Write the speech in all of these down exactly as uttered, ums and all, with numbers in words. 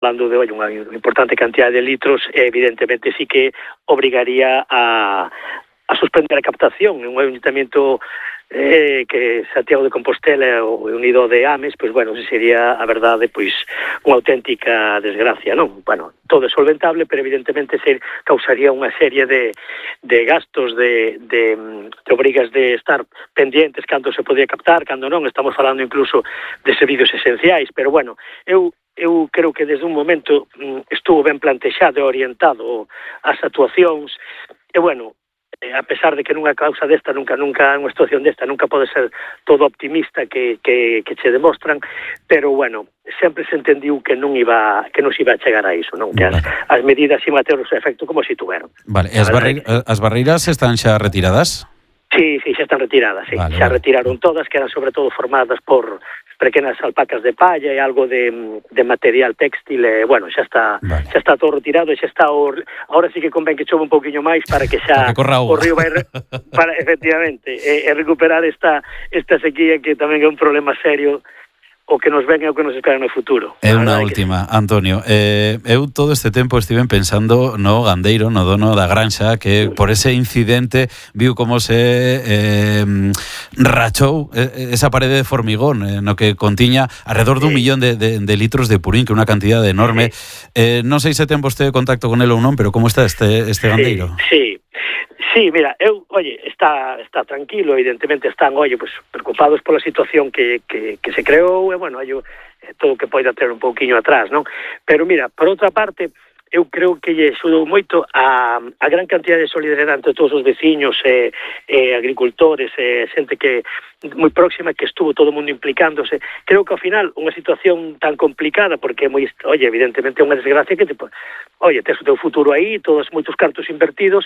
hablando de hoy, unha importante cantidad de litros, evidentemente sí que obrigaría a, a suspender a captación. En un ayuntamiento eh, que Santiago de Compostela o unido de Ames, pois, bueno, sería, a verdade, pois, unha auténtica desgracia, non? Bueno, todo é solventable, pero evidentemente se causaría unha serie de, de gastos, de, de, de obrigas de estar pendientes cando se podía captar, cando non. Estamos falando incluso de servicios esenciais, pero, bueno, eu eu creo que desde un momento estuvo ben plantexado e orientado as actuacións, e, bueno, a pesar de que nunha causa desta, nunca, nunca, unha situación desta, nunca pode ser todo optimista que, que, que che demostran, pero, bueno, sempre se entendiu que non iba, que non se iba a chegar a iso, non? Que as, as medidas iban a ter o seu efecto como se tuveron. Vale, e as, barreira, as barreiras están xa retiradas? Sí, sí, xa están retiradas, sí. Vale, xa vale. Retiraron todas, que eran sobre todo formadas por pequenas alpacas de palla e algo de, de material textil, e, bueno, xa está vale. xa está todo retirado, e xa está o, ahora sí que convén que chove un pouquiño máis para que xa que o río vai re, para, efectivamente, e, e recuperar esta, esta sequía que tamén é un problema serio o que nos ven e o que nos espera no futuro. É unha última, sí. Antonio, eh, eu todo este tempo estive pensando no gandeiro, no dono da granxa, que por ese incidente viu como se eh, rachou esa parede de formigón, eh, no que contiña alrededor dun sí. millón de, de, de litros de purín, que é unha cantidad enorme. Sí. Eh, non sei se ten vostede contacto con el ou non, pero como está este, este gandeiro? Sí, sí. Sí, mira, eu, oye, está está tranquilo, evidentemente están, oye, pues preocupados pola situación que, que, que se creou, e, bueno, hai todo o que poida ter un pouquiño atrás, non? Pero, mira, por outra parte, eu creo que lle axudou moito a, a gran cantidad de solidariedade entre todos os veciños e, e agricultores e xente que moi próxima, que estuvo todo o mundo implicándose. Creo que ao final unha situación tan complicada, porque é moi, oye, evidentemente é unha desgracia que, tipo, oye, tes o teu futuro aí, todos moitos cartos invertidos,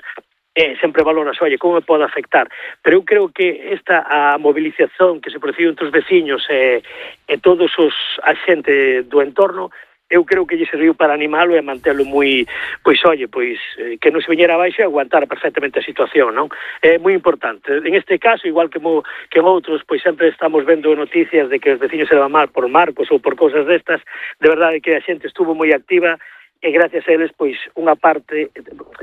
e sempre valoras, oye, como me pode afectar. Pero eu creo que esta a movilización que se produciu entre os veciños e, e todos os a xente do entorno, eu creo que lle serviu para animalo e mantelo moi, pois, oye, pois, que non se viñera abaixo e aguantar perfectamente a situación, non? É moi importante. En este caso, igual que, mo, que en outros, pois sempre estamos vendo noticias de que os veciños se van mal por marcos ou por cousas destas. De verdade que a xente estuvo moi activa e gracias a eles, pois, unha parte,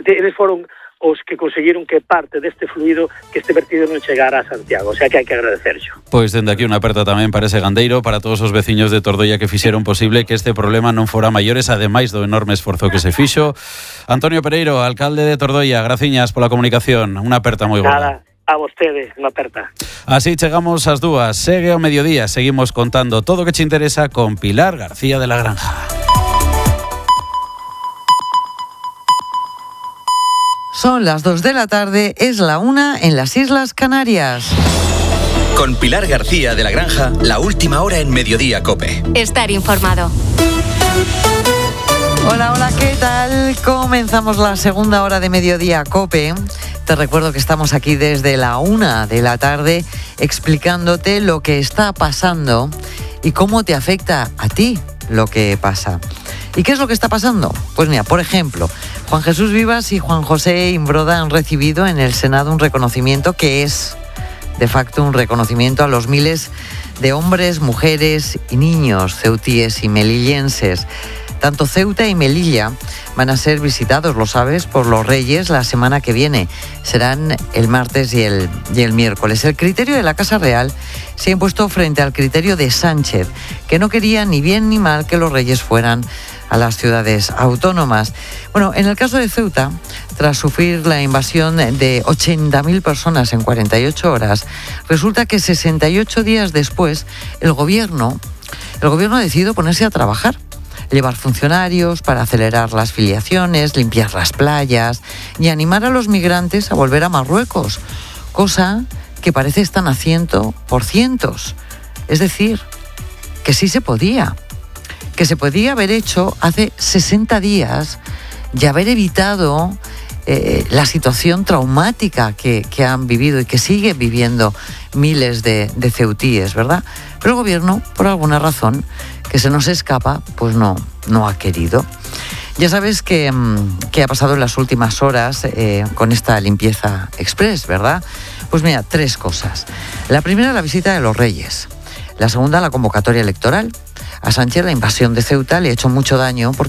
eles foron os que conseguiron que parte deste fluido que este vertido non chegara a Santiago, o sea que hai que agradecerxo. Pois dende aquí unha aperta tamén para ese gandeiro, para todos os veciños de Tordoia que fixeron posible que este problema non fora maiores, ademais do enorme esforzo que se fixo. Antonio Pereiro, alcalde de Tordoia, graciñas pola comunicación, unha aperta moi gorda. Nada, a vostedes, unha aperta. Así chegamos ás dúas, segue ao mediodía, seguimos contando todo o que che interesa con Pilar García de la Granja. Son las dos de la tarde, es la una en las Islas Canarias. Con Pilar García de la Granja, la última hora en Mediodía COPE. Estar informado. Hola, hola, ¿qué tal? Comenzamos la segunda hora de Mediodía COPE. Te recuerdo que estamos aquí desde la una de la tarde explicándote lo que está pasando y cómo te afecta a ti lo que pasa. ¿Y qué es lo que está pasando? Pues mira, por ejemplo, Juan Jesús Vivas y Juan José Imbroda han recibido en el Senado un reconocimiento que es, de facto, un reconocimiento a los miles de hombres, mujeres y niños ceutíes y melillenses. Tanto Ceuta y Melilla van a ser visitados, lo sabes, por los reyes la semana que viene. Serán el martes y el, y el miércoles. El criterio de la Casa Real se ha impuesto frente al criterio de Sánchez, que no quería ni bien ni mal que los reyes fueran a las ciudades autónomas. Bueno, en el caso de Ceuta, tras sufrir la invasión de ochenta mil personas en cuarenta y ocho horas, resulta que sesenta y ocho días después el gobierno, el gobierno ha decidido ponerse a trabajar, llevar funcionarios para acelerar las filiaciones, limpiar las playas y animar a los migrantes a volver a Marruecos, cosa que parece están haciendo por cientos. Es decir, que sí se podía. Que se podía haber hecho hace sesenta días y haber evitado eh, la situación traumática que, que han vivido y que siguen viviendo miles de, de ceutíes, ¿verdad? Pero el gobierno, por alguna razón que se nos escapa, pues no, no ha querido. Ya sabes que, que ha pasado en las últimas horas eh, con esta limpieza express, ¿verdad? Pues mira, tres cosas. La primera, la visita de los reyes. La segunda, la convocatoria electoral. a Sánchez la invasión de Ceuta le ha hecho mucho daño